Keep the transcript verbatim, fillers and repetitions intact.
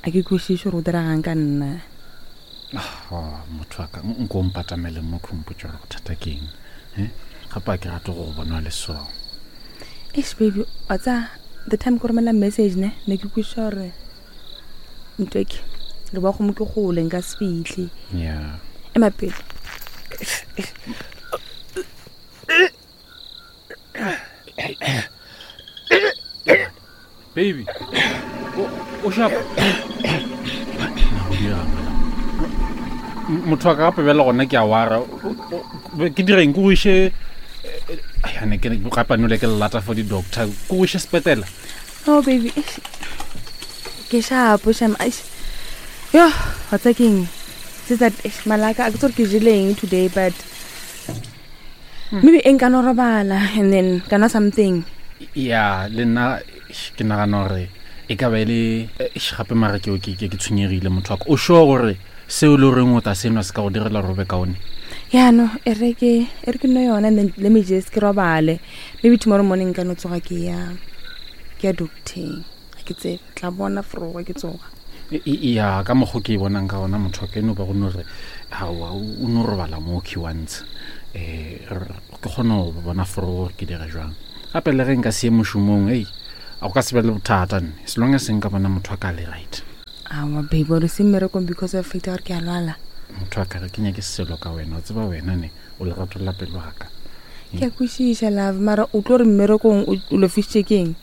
A ke kwešiše gore o diregang ka nna. Oh, motho wa ka nko o mpatamele mo kgompotse gore bothata ke eng Eh? Gape a ke rate go go bona le so. Eish baby, wa tsa the time ke romela message ne ne ke kwešiša gore ntweke le ba gomo ke gole nka se fitlhe. Ya. Ema pele. Baby, o o shapa na go dirang wena? M- motho wa ka gape bjale gona ke a wara. O- o- o- ke direng? Ke go iše ane ke gape anole ke lelata for di-doctor, ke go iše sepetela? Oh baby, eish. Ke shapo shame. Eish. Yo, wa tsa keng? Se that eish, malaka a ke tsore ke jeleng today, but maybe e nka no robala and then ka nwa something. Ya, le nna eish, ke nagana gore e ka ba e le eish, gape mara ke ke ke ke tshwenyegile, motho wa ka. O sure gore seo e le goreng o ta senwa se ka go direla gore o be kaone? Ya no, e re ke e re ke nwe yona and then let me just ke robale. Maybe tomorrow morning ka no tsoga ke ya ke ya doctor. Ga ke tsebe, tla bona froga ke tsoga. E- e- ya ka mokgwa ke e bonang ka gona, motho wa ka, e no ba go no re aowa, o o no robala mo key once um ke kgone go bona foro gore ke dire jwang. Gape le ge nka se ye mošomong, ei, a go ka se be le bothata nne, as long as nka bona motho wa ka le right. Awa baby, ore se mmerekong because of fact gore ke a lwala. Motho wa ka, re ke nyake selo ka wena, o tseba wena ne o lerato la pelo wa ka. Ke a kwešiša love, mara o tlo re mmerekong o o lofisitše ke eng?